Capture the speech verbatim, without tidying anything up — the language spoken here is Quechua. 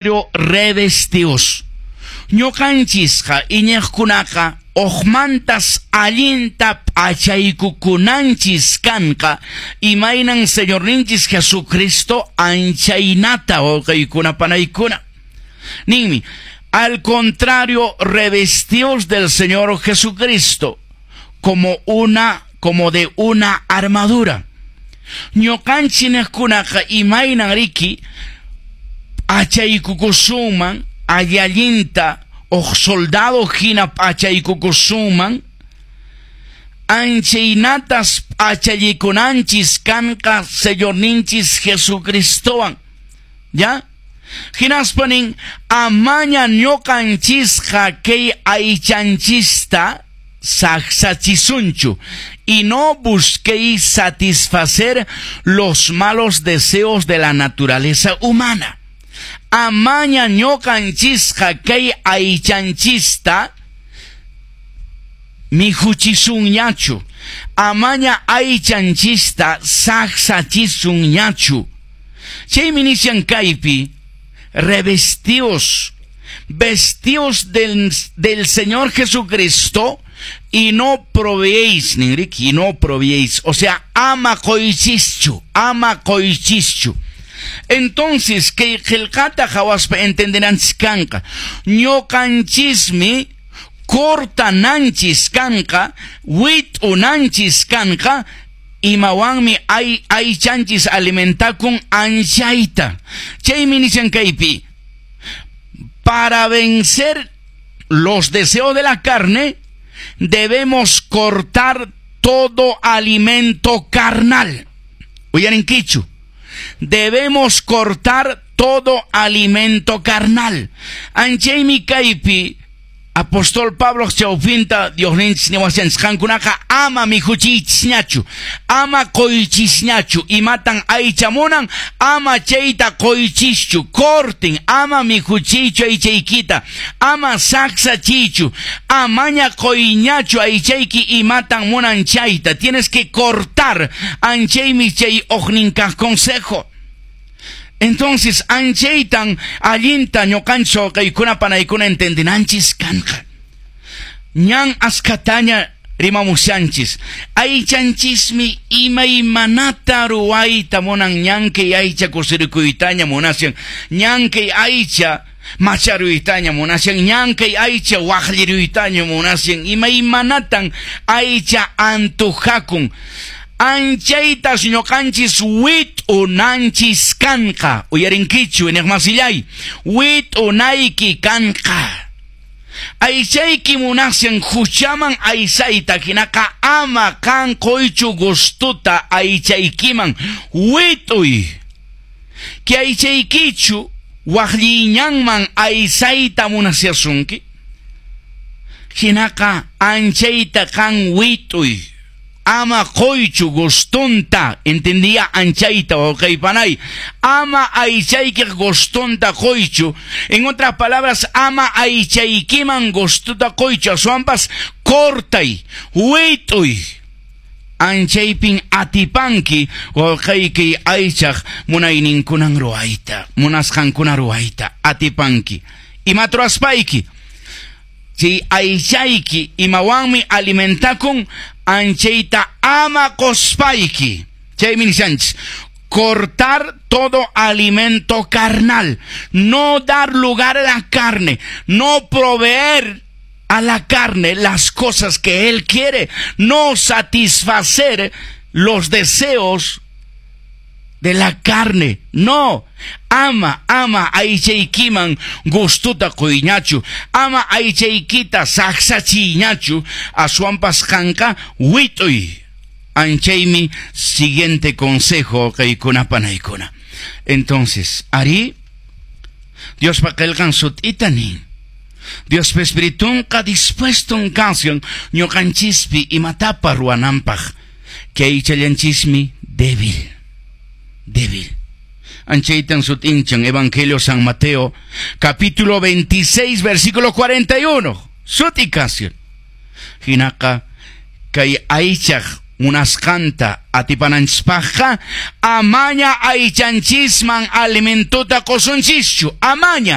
Revestios. Ñuqanchisqa iñiqkunaqa uqmantas allinta p'achaykukunanchis kanqa, imaynan Señorninchis Jesucristo anchaynata, wawqiykuna panaykuna. Ninmi: "Al contrario, revestios del Señor Jesucristo como una como de una armadura". Ñuqanchikkunaqa imaynan riki p'achaykukusunman allinta, uq soldado hina p'achaykukusunman, anchaynatas p'achallikunanchis kanqa Señorninchis Jesucristowan. ¿Ya? Hinaspa nin: amaña ñuqanchisqa kay aychanchista saksachisunchu, y no busquéis satisfacer los malos deseos de la naturaleza humana. Amaña ñuqanchisqa kay aychanchista mikhuchisunñachu, amaña aychanchista saksachisunñachu. Chaymi nishan kaypi: revestios, vestios del, del Señor Jesucristo y no proveéis, ninriki, y no proveéis, o sea, ama qoychischu, ama qoychischu. Entonces, kay qillqata qhawaspa entendenanchis kanqa, ñuqanchismi cortananchis kanqa, wit'unanchis kanqa, imawanmi ay aychanchis alimentakun anchayta. Chaymi nishan kaypi: para vencer los deseos de la carne, debemos cortar todo alimento carnal. Uyarinkichu. Debemos cortar todo alimento carnal. Anchaymi kaypi apóstol Pablo chawpinta Diosninchis niwashanchis: qankunaqa ama mikhuchiychisñachu, ama qoychisñachu, imatan aycha munan, ama chayta qoychischu, corten, ama mikhuchiychu aychaykita, ama saksachiychu, amaña qoyñachu aychayki imatan munan chayta, tienes que cortar. Anchaymi chay uqninkaq consejo. Entonces, anchaytan allinta ñuqanchis wawqiykuna panaykuna entendinanchis kanqa. Ñan askataña rimamushanchis. Aychanchismi imaymanata ruwayta munan, ñan kay aycha kusirikuytaña munashan, ñan kay aycha macharuytaña munashan, ñan kay aycha waqlliruytaña munashan, imaymanatan aycha antujakun. Anchaytas ñuqanchis wit'unanchis kanqa. Uyarinkichu, iñiqmasillay, wit'unayki kanqa. Aychayki munashan huchaman aysayta, hinaqa ama qan qoychu gustuta aychaykiman, wit'uy. Kay aychaykichu waqlliñanman aysayta munashasunki, hinaqa anchayta qan wit'uy. Ama qoychu gustunta, entendía anchayta, wawqi panay. Ama aychayki gustunta qoychu. En otras palabras, ama aychaykiman gustuta qoychu, aswanpas cortay, wit'uy. Anchaypin atipanki wawqayki aychaq munayninkunan ruwayta, munasqankuna ruwayta, atipanki. Imata ruwaspayki? Chay aychayki imawanmi alimentakun, anchayta ama qospayki. Chaymi nishanchis: cortar todo alimento carnal, no dar lugar a la carne, no proveer a la carne las cosas que él quiere, no satisfacer los deseos de la carne. No, ama, ama aychaykiman gustuta quyñachu, ama aychaykita saksachiyñachu, aswanpas qanqa wit'uy. Anchaymi siguiente consejo kaykuna panaykuna. Entonces, ari, Diospa qillqan sut'ita nin. Diospa Espiritunqa dispuesto kashan ñuqanchispi imatapas ruwananpaq. Kay aychallanchismi débil. Débil. Anchaytan sut'inchan Evangelio San Mateo, capítulo veintiséis, versículo cuarenta y uno. Sut'i kashan. Hinaqa kay aychaq Munasqanta atipananchispaqqa amaña aychanchisman alimentuta qusunchischu, amaña.